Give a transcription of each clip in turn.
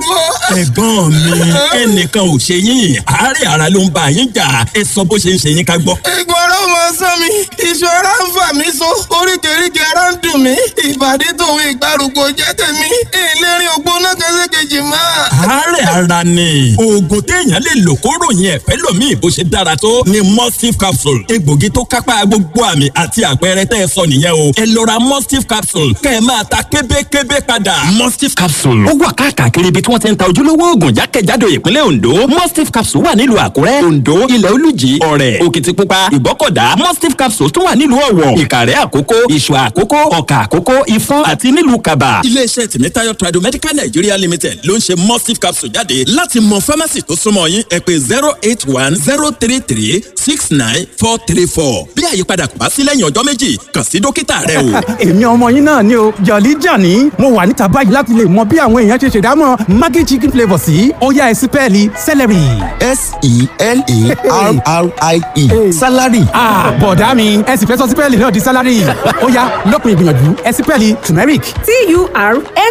ro. Ẹ̀gbọ́n mi, ẹnìkan ò ṣe yín, àárẹ̀ ara ló ń bá yín jà. Ẹ sọ bó ṣe ń ṣe yín ká gbọ́. Egun ara ọmọ sán mi, iṣan ara ń fà mí so, oríkèéríkèé ara ń dùn mí, ìbàdí tòun ìgbàrúgbó jẹ́ tèmi, ìlérí ògbóná kẹsẹ̀kejì máa. Àárẹ̀ ara ni oògùn téèyàn lè lò kó ròyìn ẹ̀fẹ́ lòmíì bó ṣe dára tó ni Mustif capsule. Egbògi tó kápá gbogbo àmì àti àpẹẹrẹ tẹ́ ẹ sọ nìyẹn o. Ẹ lọ ra Mustif capsule kẹ́ ẹ máa ta kébékébé padà. Mustif capsule ó wà káàkiri ibi tí wọ́n ti ń ta ojúlówó oògùn jákèjádò ìpínlẹ̀ Ondo. Mustif capsule wà nílùú Àkúrẹ́, Ondo, Ilẹ̀ Olújì, Ọ̀rẹ̀, Òkìtìpupa, Ìgbọ́kọ̀dá. Mustif capsule tún wà nílùú Ọ̀wọ̀, Ìkàrẹ́ Àkókó, Ìṣọ̀ Àkókó, Ọ̀kà Àkókó, Ìfọ̀n àti nílùú Kàbà. Iléeṣẹ́ Tìmítayọ̀ Tradomedical Nigeria Limited ló ń ṣe Mustif capsule jáde. Láti mọ fámásì tó súnmọ́ yín, ẹ pè 08103369434. Bí àyípadà kò bá sí lẹ́yìn ọjọ́ 2, kàn sí dókítà rẹ o. Èmi ọmọ yín náà ni o, Jọ̀lí Jàní. Mo wà níta báyìí láti lè mọ bí àwọn èèyàn ṣe ṣèdámọ̀ Maggi chicken flavour sí. Ó yá, ẹ sípẹ́ẹ̀lì celery. S-E-L-A-R-R-I-E, salary. Bọ̀dá mi, ẹ sì fẹ́ sọ sípẹ́ẹ̀lì náà di salary. Ó yá, lópin ìgbìyànjú, ẹ sípẹ́ẹ̀lì turmeric.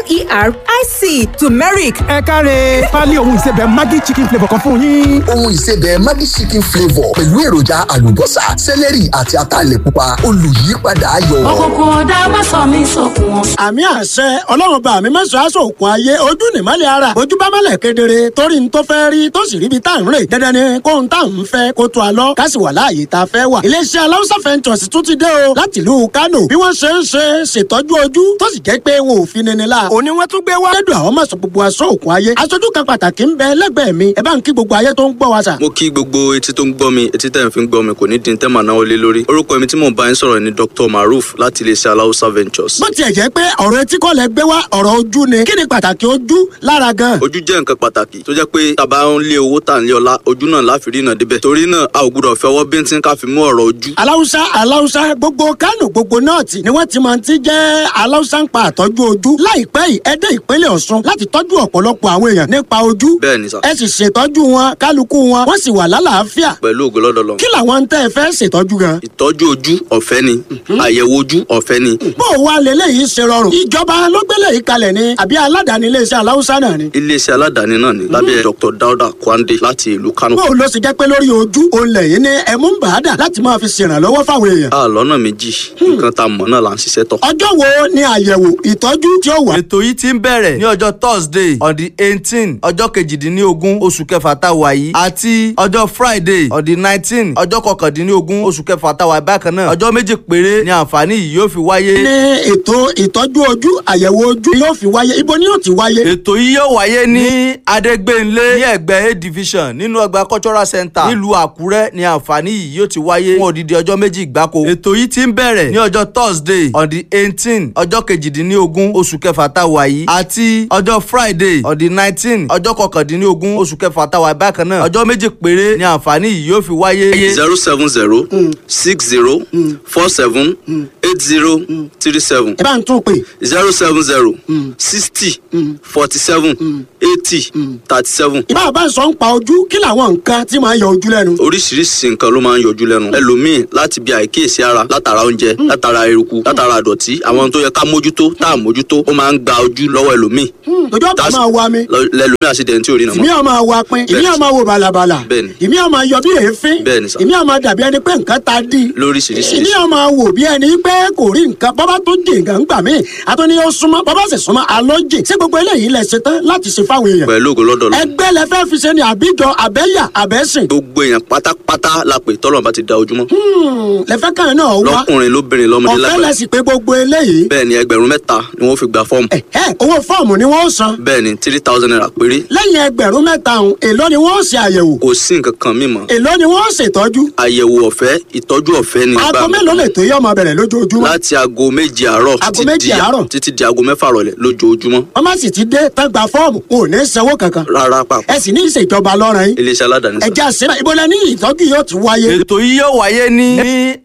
T-U-R-M-E-R-I-C, turmeric. Ẹ káre, pálí ohun ìsebẹ̀ Maggi chicken flavour kan fún yín. Ohun ìsebẹ̀ Maggi chicken flavour pẹ̀lú èròjà àlùbọ́sà, sẹ́lẹ̀rì àti ataalẹ̀ pupa, olùyípadà ayọ̀. Òkùnkùn ọ̀dà má sọ mí sókun wọn. Àmì àṣẹ Ọlọ́run bá mi mẹ́sàn-án aṣọ òkun ayé. Ojú nìmọ́lẹ̀ ara, ojú bá mọ́lẹ̀ kedere torí n tó fẹ́ rí tó sì ríbi tá à ń rè. Dandan ni kóhun tá à ń fẹ́ kó tó a lọ, ká sì wà láàyè tá a fẹ́ wà. Iléeṣẹ́ Aláùsá Ventures tún ti dé o láti ìlú Kánò. Bí wọ́n ṣe ń ṣe ṣètọ́jú ojú tó sì jẹ́ pé wọn ò fi nini la. Òní wọ́n tún gbé wá. Lẹ́dùn àwọn mọ̀sán gbogbo aṣọ òkun ayé. Aṣojú kan pàtàkì ń bẹ lẹ́gbẹ̀ẹ́ mi. Ẹ bá ń kí gbogbo ayé tó ń gbọ́ wa sà. Mo kí gbogbo etí tó ń gbọ́ mi, etí tẹ̀ ń fi ń gbọ́ mi kò ní dín tẹ́ màá náwó lé lórí. Orúkọ mi tí mò ń bá yín sọ̀rọ̀ ni Dr. Maruf láti iléeṣẹ́ Aláùsá Ventures. Bó tiẹ̀ jẹ́ pé ọ̀rọ̀ etí kọ́ lẹ gbé wá, ọ̀rọ̀ ojú ni. Kí ni pàtàkì ojú lára gan? Ojú jẹ́ nǹkan pàtàkì tó jẹ́ pé tàbá ń lé owó, tà ń lé ọlá, ojú náà láfi rí iná débẹ̀. Torí náà, a ò gbúdọ̀ fi ọwọ́ bíntín ká fi mú ọ̀rọ̀ ojú. Aláùsá, Aláùsá, gbogbo Kánò, gbogbo nọ́ọ̀tì ni wọ́n ti máa ti jẹ́ Aláùsá ń pa àtọ́jú ojú. Láìpẹ́ yìí, ẹ dé ìpínlẹ̀ Ọ̀ṣun láti tọ́jú ọ̀pọ̀lọpọ̀ àwọn èèyàn nípa ojú. Bẹ́ẹ̀ ni sà. Ẹ sì ṣètọ́jú wọn, kálukú wọn wọ́n sì wà lálàáfíà. Pẹ̀lú ògo lọ́dọ̀ lọ. Kí làwọn ń tẹ́ ẹ fẹ́ ṣètọ́jú gan? Ìtọ́jú ojú ọ̀fẹ́ ni, àyẹ̀wò ojú ọ̀fẹ́ ni. Bó o wá leléyìí ṣe rọrùn? Ìjọba ló gbélé yìí kalẹ̀ ni àbí aládàáni iléeṣẹ́ Aláùsá náà ni? Iléeṣẹ́ aládàáni náà ni lábẹ́ Dr. Dauda Kwande láti ìlú Kano. Bó o lọ sì jẹ́ pé lórí ojú olè yìí ni ẹ̀mú ń bàá dà láti máa fi ṣèrànlọ́wọ́ fáwọn èèyàn? A lọ́nà méjì, nǹkan tá a mọ̀ náà là ń ṣiṣẹ́ tọ̀. Ọjọ́ wo ni àyẹ̀wò ìtọ́jú tí ó wà? Ètò yìí ti ń bẹ̀rẹ̀ ní ọjọ́ Thursday on the 18, ọjọ́ 18 oṣù kẹfà tá a wà yìí, àti ọjọ́ Friday on the 19, ọjọ́ 19 oṣù kẹfà tá a wà bákan náà. Ọjọ́ 2 péré ni àǹfààní yìí yóò fi wáyé. Ní ètò ìtọ́jú ojú, àyẹ̀wò ojú yóò fi wáyé, ibo ni yóò ti wáyé? Ètò yìí yóò wáyé ní Adégbénlé, ní ẹ̀gbẹ́ A division, nínú ọgbà cultural center nílùú Àkúrẹ́ ni àǹfààní yìí yóò ti wáyé fún odidi ọjọ́ 2 gbáko. Ètò yìí ti ń bẹ̀rẹ̀ ní ọjọ́ Thursday on the 18, ọjọ́ 18 oṣù kẹfà tá a wà yìí, àti ọjọ́ Friday on the 19, ọjọ́ 19 oṣù kẹfà tá a wà bákan náà. Ọjọ́ 2 péré ni àǹfààní yìí yóò fi wáyé. 07060478037. Ẹ bá ń tún pè. 07060478037. Ìbá bá ń sọ ń pa ojú, kí làwọn nǹkan tí máa ń yọ ojú lẹ́nu? Oríṣiríṣi nǹkan ló máa ń yọjú lẹ́nu. Ẹlòmíì, láti bí àìkíyèsí ara, látara oúnjẹ, látara eruku, látara àdọ̀tí, àwọn tó yẹ ká mójútó tá à mójútó, ó máa ń gba ojú lọ́wọ́ ẹlòmíì. Ojú ọ̀pá máa wa mi. Lẹ́lòmíì àṣìdẹ̀ntì ò rí nà Ìmí mọ́. ọ̀ máa wa pin, ìmí ọ̀ máa wo bàlàbàlà. Bẹ́ẹ̀ni. Ìmí ọ̀ máa yọ bí èéfín. Bẹ́ẹ̀ni sà. Ìmí ọ̀ máa dàbí ẹni pé nǹkan ta dí. Lóríṣiríṣi. Ìmí ọ̀ máa wò bí ẹni pé kò rí nǹkan. Bọ́bá tó jì nǹkan ń gbà mí, àtúní ó súnmọ́, bọ́bá sì súnmọ́ alọ́ jì. Ṣé gbogbo eléyìí lẹ ṣe tán láti ṣe fáwọn èèyàn? Pẹ̀lú ògo lọ́dọ̀ lọ. Ẹgbẹ́ lẹ fẹ́ fi ṣe ni, àbíjọ, àbẹ́yà, àbẹ́sìn? Gbogbo èèyàn pátápátá la pè tọ́lọ́run bá ti da ojúmọ́. Lẹ fẹ́ kàn náà wá. Lọ́kùnrin, lóbìnrin, lọ́mọdé, Ọ̀fẹ́ lágbàá. lẹ sì pé gbogbo eléyìí? Bẹ́ẹ̀ ni, 3,000 ni wọ́n fi gba fọ́ọ̀mù. Ẹ owó fọ́ọ̀mù ni wọ́n san? Bẹ́ẹ̀ ni, ₦3,000 péré. Lẹ́yìn 3,000 ọ̀hún, èló ni wọ́n ṣe àyẹ̀wò? Kò sí nǹkan kan mímọ́. Èló ni wọ́n ṣètọ́jú? Àyẹ̀wò ọ̀fẹ́, ìtọ́jú ọ̀fẹ́ ni. Aago mélòó lè tó yọ ọmọ bẹ̀rẹ̀ lójoojúmọ́? Láti aago 7 àárọ̀ Aago títí 7 di àárọ̀. títí di aago 6 rọ̀lẹ́ lójoojúmọ́. Wọ́n má sì ti dé tán gba fọ́ọ̀mù, wọn ò ní sanwó kankan? Rárá pàpà. Ẹ sì ní ìṣèjọba lọ́rọ̀ yín. Iléeṣẹ́ aládàáni sà. Ẹ̀jẹ̀ àṣírà, ibo lẹ ní ìtọ́jú yóò ti wáyé? Ètò yìí yóò wáyé ní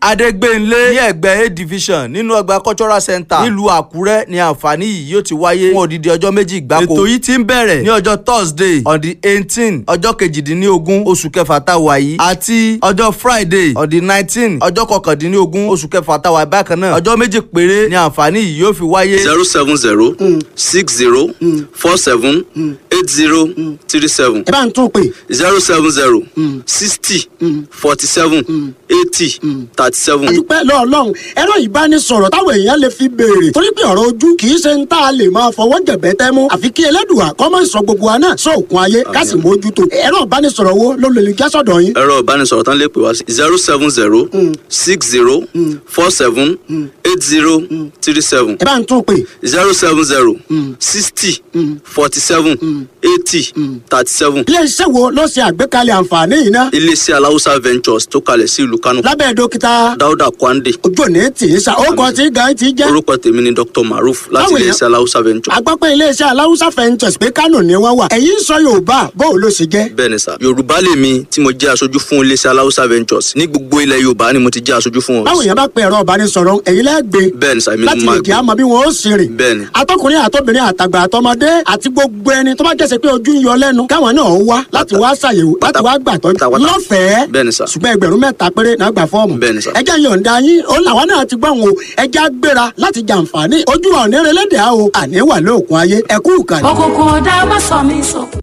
Adégbénlé, ní ẹ̀gbẹ́ A division, nínú ọgbà cultural center nílùú Àkúrẹ́ ni àǹfààní yìí yóò ti wáyé fún odidi ọjọ́ 2 gbáko. gbáko. Ètò yìí ti ń bẹ̀rẹ̀ ní ọjọ́ Thursday on the 18 ọjọ́ 18 oṣù kẹfà tá a wà yìí àti ọjọ́ Friday on the 19 ọjọ́ 19 oṣù kẹfà tá a wà yìí bákan náà. Ọjọ́ méjì péré ni àǹfààní yìí yóò fi wáyé. 070 60 47 80 37. Ẹ bá ń tún pè. 070 60 47 80 37. Àdúpẹ́ lọ́ọ̀lọ́run, ẹ̀rọ ìbánisọ̀rọ̀ táwọn èèyàn lè fi béèrè, torí pé ọ̀rọ̀ ojú kì í ṣe ń tá a lè máa fọwọ́ jẹ̀bẹ́ tẹ́ mú, àfi kí Ẹlẹ́dùà kó má sọ gbogbo wa náà sóòkun ayé, ká sì mójútó. Ẹ̀rọ ìbánisọ̀rọ̀ wo ló lè já sọ̀dọ̀ yín? Ẹ̀rọ ìbánisọ̀rọ̀ tán lè pè wá sí 070 60 47 80 37. Ẹ bá ń tún pè. 070 60 47 80 37. Iléeṣẹ́ wo ló ṣe àgbékalẹ̀ àǹfààní yìí ná? Iléeṣẹ́ Aláwùsá Ventures tó kalẹ̀ sí ìlú Kánò. Lábẹ́ dókítà Dáúdà Kwande. Ojú òní tì í sa, ó kọ tí gan ti jẹ́. Orúkọ tèmi ni Dr. Maruf láti Báwo iléeṣẹ́ Aláwùsá Ventures. A gbọ́ pé iléeṣẹ́ Aláwùsá Ventures pé Kánò ni wọ́n wà. Ẹ̀yin ń sọ Yorùbá, bóò ló ṣe jẹ́? Bẹ́ẹ̀ni sà, Yorùbá lèmi tí mo jẹ́ aṣojú fún iléeṣẹ́ Aláwùsá Ventures ní gbogbo ilẹ̀ Yorùbá ni mo ti jẹ́ aṣojú fún wọn. Báwo èèyàn bá pe ẹ̀rọ ìbánisọ̀rọ̀, ẹ̀yin lẹ́gbẹ̀ẹ́ Bẹ́ẹ̀ni sà, èmi ni láti mo lè máa jẹ́ àmọ́ bí wọ́n ó sì rìn. Bẹ́ẹ̀ni. Atọ́kùnrin àtọ́bìnrin àtàgbà àtọmọdé àti gbogbo ẹni tó bá jẹ́sẹ̀ pé ojú ń yọ lẹ́nu, káwọn náà wá láti wá ṣàyẹ̀wò, láti wá gbàtọ́jú Pátápátá. lọ́fẹ̀ẹ́. Bẹ́ẹ̀ni sà. Ṣùgbọ́n 3,000 péré náà gbà fọ́ọ̀mù. Bẹ́ẹ̀ni sà. Ẹ jẹ́ yọ̀ǹda yín, ó làwọn náà ti gbọ́n o, ẹ jẹ́ á gbéra láti jàǹfààní. Ojú wa ò ní relédè á o, àní wà lóòkun ayé, ẹ kú ìkànnì. Òkùnkùn ọ̀dà má sọ mí sókun.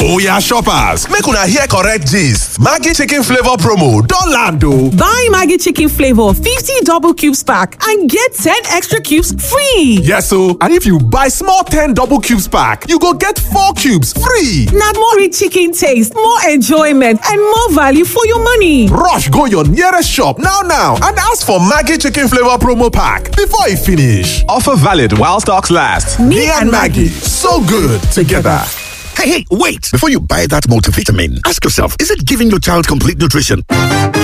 Oya shoppers, make una hear correct gist. Maggi chicken flavor promo don land o. Buy Maggi chicken flavor 50 double cubes pack and get 10 extra cubes free. Yes o, and if you buy small 10 double cubes pack, you go get 4 cubes free. Na more rich chicken taste, more enjoyment, and more value for your money. Rush go your nearest shop now now and ask for Maggi chicken flavor promo pack before e finish. Offer valid while stocks last. Me and Maggi, so good together. Hey, hey, wait! Before you buy that multivitamin, ask yourself, is it giving your child complete nutrition?